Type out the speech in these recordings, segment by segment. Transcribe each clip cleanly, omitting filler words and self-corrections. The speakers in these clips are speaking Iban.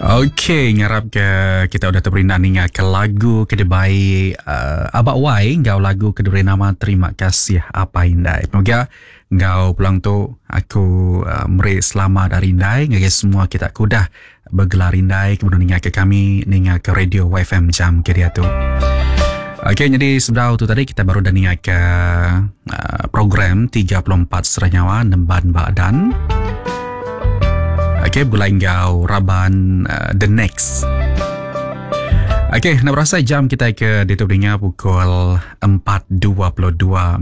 Ok, ngarap ke kita udah teperindang ninga ke lagu ke dibai uh, Abak Wai enggau lagu ke diberi nama Terima Kasih Apai Indai. Moga enggau pulang tu aku uh, meri selamat hari indai ngagai semua kita ke udah begelar indai ke benung ninga ke kami ninga ke radio YFM jam ke diatu. Okey, jadi sebedau tu tadi kita baru dah ninga ke uh, program 34 Seranyawa Nemban Badan. Okey, begulai enggau raban uh, The Next. Okey, nak berasa jam kita ke ditu beringa pukul 4.22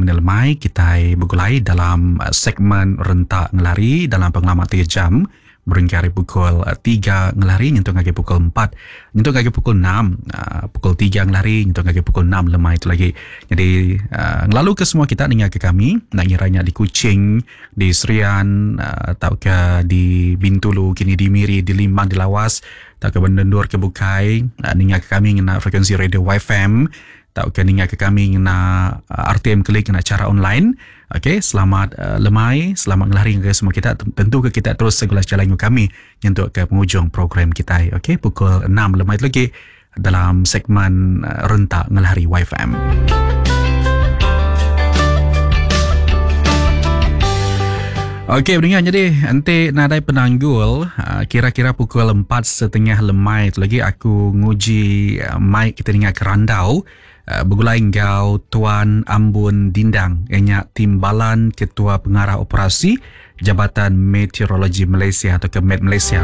minit lemai kita begulai dalam uh, segmen rentak ngelari dalam pengelama 3 jam. Berengkah ari pukul tiga ngelari nyentuk ngagai pukul empat nyentuk ngagai pukul enam aaa pukul tiga ngelari nyentuk ngagai pukul enam lemai tu lagi. Nyadi aaa ngelalu ke semua kita ninga ke kami enda ngira nya di Kuching, di Serian aaa tauka di Bintulu kini di Miri, di Limbang, di Lawas tauka ba endur ke bukai aaa ninga ke kami ngena frekuensi radio YFM tauka ninga ke kami ngena RTM Klik ngena chara online. Ok selamat lemai selamat ngelari ngagai semua kita tentu ke kita terus segulai sejalai enggau kami nyentuk ke pengujung program kitai ok pukul 6 lemai tu lagi dalam segmen rentak ngelari YFM. Okey pendengar jadi enti nadai penanggul kira-kira pukul 4.30 lemai tu lagi aku nguji mic kita ninga ke randau Begulai enggau Tuan Ambun Dindang iya nya Timbalan Ketua Pengarah Operasi Jabatan Meteorologi Malaysia atau ke Met Malaysia.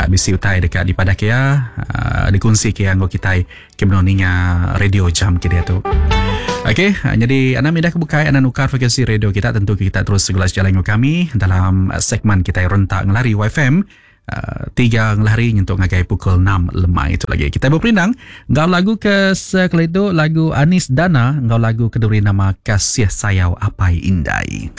Bisi utai deka dipadah ke iya dikunsi ke iya enggau kitai ke benung ninga radio jam ke diatu. Okey, nyadi anang mindah ke bukai anang nukar frekuensi radio kita tentu ke kita terus segulai sejalai enggau kami dalam segmen kitai rentak ngelari YFM. Tiga ngelari nyentuk ngagai pukul 6 lemai itu lagi. Kita berperindang enggau lagu ke sekali tu lagu Anis Dana enggau lagu ke diberi nama Kasih Sayau Apai Indai.